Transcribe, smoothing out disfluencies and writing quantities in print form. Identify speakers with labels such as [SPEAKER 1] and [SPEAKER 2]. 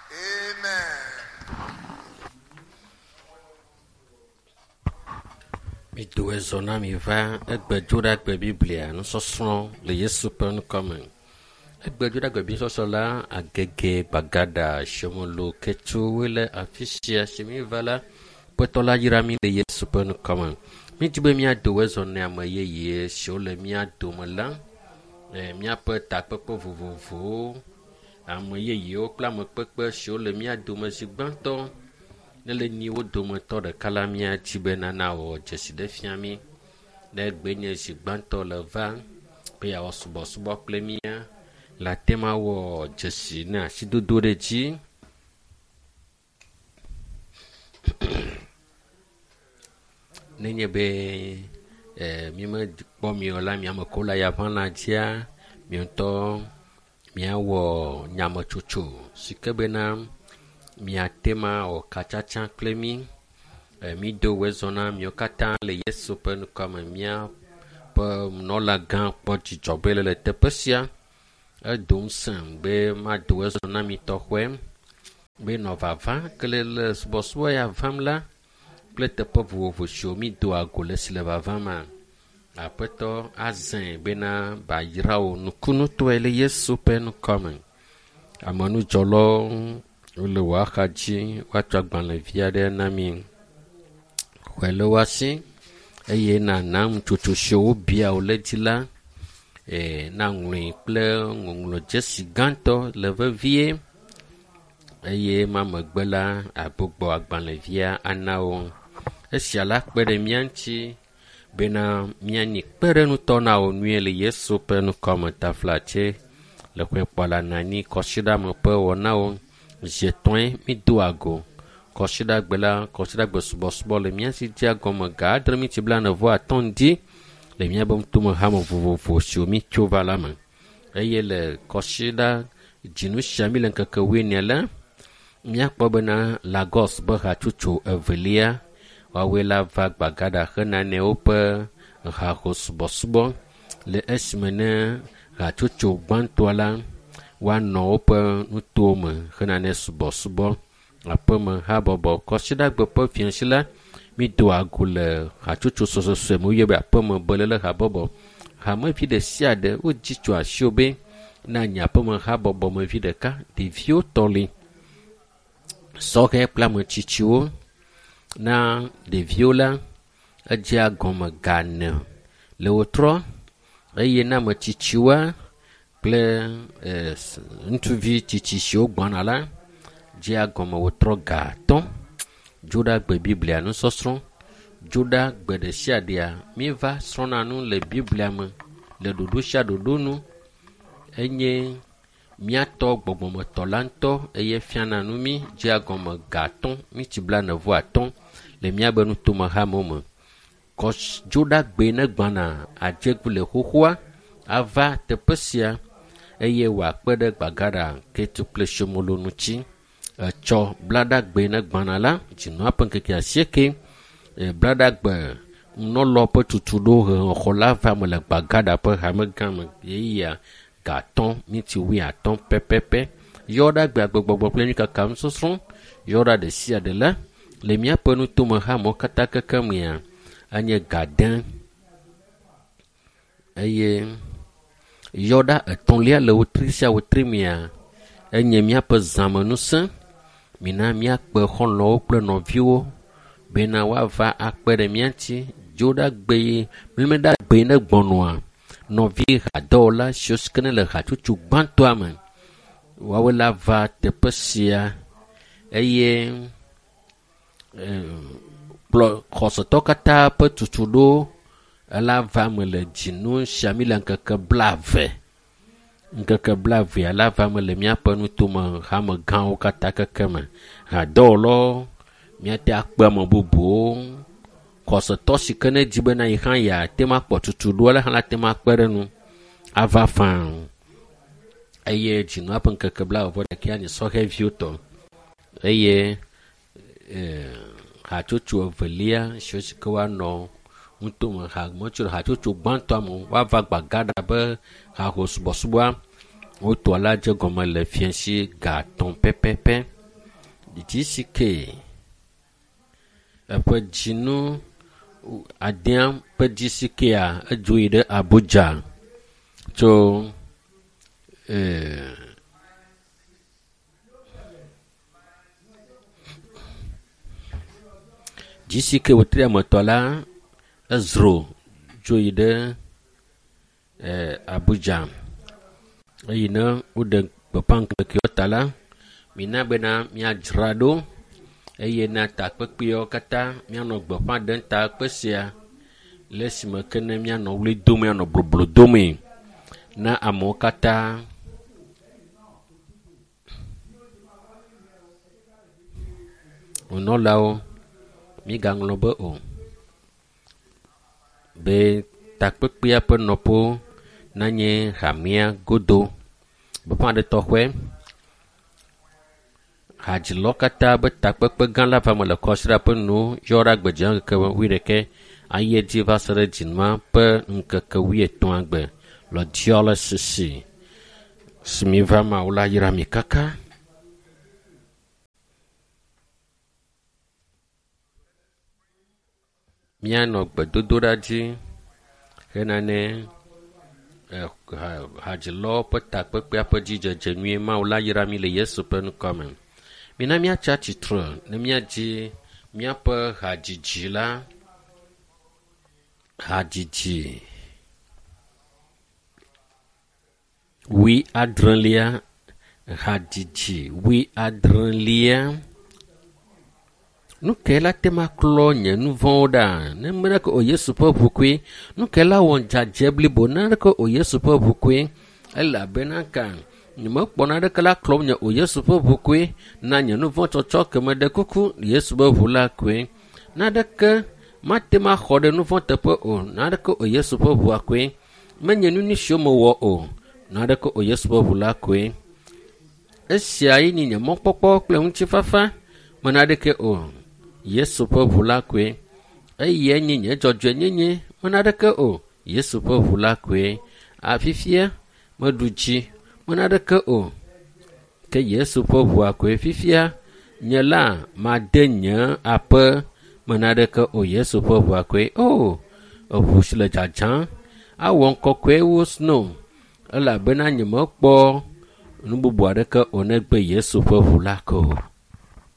[SPEAKER 1] Amen.
[SPEAKER 2] Mido ezɔ na mi va egbedoɖagbe Biblia nusɔsrɔ̃ le Yesu ƒe ŋkɔ me. Egbedoɖagbe nusɔsrɔ̃ la agege gbagada shomolo ketsowoe le afi sia si mi va la Ƒetɔ la yra mi le Yesu ƒe ŋkɔ me. Mídi be míado ezɔ na ame yeye siwo le mía dome la le míaƒe takpekpe vovovowo ame yeyewo kple ame kpekpe siwo le mía dome zi gbãtɔ ne le nyiwo dometɔ ɖeka la míatsi be nana wɔ dzesi ɖe fia mí ne egbe nye zi gbãtɔ le va be yeawɔ subɔsubɔ kple mía le ate ma wɔ dzesi ne asidodo ɖe dzi. Nenye be e, mímekpɔ mi o la, miame ko le ayaʋã dzia, mi ŋutɔ miawɔ nyametsotso si ke bena miate ma wɔ katsatsa kple mí. E, mído wòezɔ na miwo katã le Yesu ƒe ŋkɔ me. Míaƒe nunɔlagã kpɔ dzidzɔ be le teƒe sia. Edo ŋusẽ be mado wòezɔ na mi tɔxɔe be nɔ vava ke le le subɔsubɔ ya vam la kple teƒe vovovo siwo mídoa go le si le vava ma. Aƒetɔ azãe bena bayra wò nukunutɔe le Yesu ƒe ŋkɔ me. Amenudzɔlawo wole wò axa dzi woatsɔ agbalẽvi aɖe na mi. Xɔe le woa si eye nàna nutsotso siwo wobia wò le dzi la e, naŋlɔe kple ŋɔŋlɔdzesi gãtɔ le vevie eye ma megbe la agbugbɔ agbalẽvia ana wo. Esia la kpe ɖe mía ŋuti bena míanyi kpeɖeŋutɔ na wò nyuie le Yesu ƒe ŋkɔ me taflatse le ƒe kpɔla nanyi kɔsiɖame ƒe wɔnawo zi etɔ̃e mídoa go. Kɔsiɖagbe la kɔsiɖagbe subɔsubɔ le mía si dzea gɔme ga adre miti blaene vɔ atɔ̃ ŋdi le míaƒe ŋutome hame vovovo siwo mítso va la me. Eye le kɔsiɖa dzinu sia mi le ŋkeke wuienea la míakpɔ bena Lagos ƒe hatsotso evelia woawoe la va gbagaɖa hena ne woƒe haho subɔsubɔ le esime ne hatsotso gbãtɔa la woanɔ woƒe nutowo me hena ne subɔsubɔ aƒeme habɔbɔ kɔsiɖagbe ƒe fiasi la mídoa go le hatsotso sɔsɔsɔe me woyɔe be aƒeme beléle habɔbɔ hamevi ɖe sia ɖe wodzi tso asiwò be na nye aƒeme habɔbɔ me vi ɖeka ɖeviwo tɔ li sɔhɛ kple ametsitsiwo na ɖeviwo la edzea gɔme ga ene le wotrɔ eye na ametsitsiwoa kple e, ŋutsuvi tsitsi siwo gbɔna la dzea gɔme wotrɔ ga atɔ̃. Dzoɖagbe Biblia nusɔsrɔ̃. Dzoɖagbe ɖe sia ɖea míeva srɔ̃na nu le Biblia me le ɖoɖo sia ɖoɖo nu. Enye míatɔ gbɔgbɔmetɔ la ŋutɔ eye fiana nu mí dzea gɔme ga atɔ̃ miti blaene vɔ atɔ̃ le míabe nutome hamewo me. Kɔs dzoɖagbe ne gbɔna adzegu le xoxoa ava teƒe sia eye wòakpe ɖe gbagaɖa ketu kple shomolo ŋuti. Etsɔ blaɖagbe ne gbɔna la dzinua ƒe ŋkeke asieke e, blaɖagbe nunɔlɔ ƒe tutuɖo hehexɔla va me le gbagaɖa ƒe hame gã me ɣeyiɣia ga atɔ̃ miti wuiatɔ̃ pɛpɛpɛ. Yɔɖagbe agbegbɔgbɔ kple nukaka nusɔsrɔ̃ yɔɖa ɖe sia ɖe la le míaƒe nutome hamewo katã keke mea enye ga ade eye yɔɖa etɔ̃lia le wotri sia wotri mea enye míaƒe zãmenusẽ. Mina míakpe xɔlɔ̃wo kple nɔviwo bena woava akpe ɖe mía ŋuti. Dzoɖagbe mlimeɖagbe ne gbɔnɔa nɔvi hadɔwɔla siwo si ke ne le hatsotso gbãtɔa me woawoe la va teƒe sia eye e, kplɔ xɔsetɔ katã ƒe tutuɖo ela va me le dzinu sia mi le ŋkeke blaeve ŋkeke blaevea la va me le míaƒe nutome hame gãwo katã keke me hadɔwɔlawo míate akpe ame bubuwo xɔsetɔ si ke ne di bena yi hã yeate ŋu akpɔ tutuɖoa la hã la te ŋu akpe ɖe nu ava faa eye dzinua ƒe ŋkeke blaeve vɔ ɖekɛ nye sɔhɛviwo tɔ eye e, hatsotso evelia siwo si ke woanɔ nutome ha metsɔ hatsotso gbãtɔa me woava gbagaɖa be haho subɔsubɔa wotɔ la dze gɔme le fiasi ga atɔ̃ pɛpɛpɛ. GCK eƒe dzinu adea ƒe GCK-a edzo yi ɖe Abuja tso GCK wetri ame etɔ̃ la ezro dzo yi ɖe Abuja eye ne woɖe gbeƒã ŋkekewo ta la, mina bena míadzra ɖo eye na takpekpeawo katã míanɔ gbeƒã ɖem takpe sia le esime ke ne míanɔ ɣli dom, míanɔ bloblo domee na amewo katã. Nunɔlawo, mígaŋlɔ be o be takpekpea ƒe nɔƒewo nanye hamea godo. Gbeƒãɖetɔƒe, hadzilawo katã be takpekpe gã la va me le kɔsiɖa ƒe nu yɔ ɖe agbedze ŋkeke wuiɖekɛ ayi edzi va se ɖe dzinua ƒe ŋkeke wuietɔ̃a gbe le diɔlesisi si mi va Mawu la yra mi kaka. Míanɔ gbedodoɖa dzi hena ne hadzilawo ƒe takpekpea ƒe dzidzedze nyuie. Mawu la yra mi le Yesu ƒe ŋkɔ me. Mina míatsi atsitre ne míadzi míaƒe hadzidzi la. Hadzidzi wuiadrelia, hadzidzi wuiadrelia. Nu kae la te maklɔ nye nu vɔ̃wo ɖa? Ne meɖeke o Yesu ƒe ʋu koe. Nu kae la wɔ dzadzɛ blibo? Ne ɖeke o Yesu ƒe ʋu koe. Elabena ka nyemekpɔ naneke la klɔm nye o Yesu ƒe ʋu koe. Na nye nu vɔ̃ tsɔtsɔ ke meɖe kuku Yesu ƒe ʋu la koe. Naneke mate maxɔ ɖe nu vɔ̃ teƒe o. Naneke o Yesu ƒe ʋua koe. Menye nu nyui siwo mewɔ o. Naneke o Yesu ƒe ʋu la koe. Esia ye nye nye mɔkpɔkpɔ kple ŋutifafa. Me naneke o. Yesu ƒe ʋu la koe. Eyae nye nye dzɔdzɔenyenye. Me naneke o. Yesu ƒe ʋu la koe. Afifia meɖu dzi. Me naneke o. Ke Yesu ƒe ʋua koe fifia. Nye la made nye aƒe. Me naneke o. Yesu ƒe ʋua koe. O, eʋu si le dzadzam awɔ ŋkɔkɔe wu snow elabena nyemekpɔ nu bubu aɖeke o negbe Yesu ƒe ʋu la ko.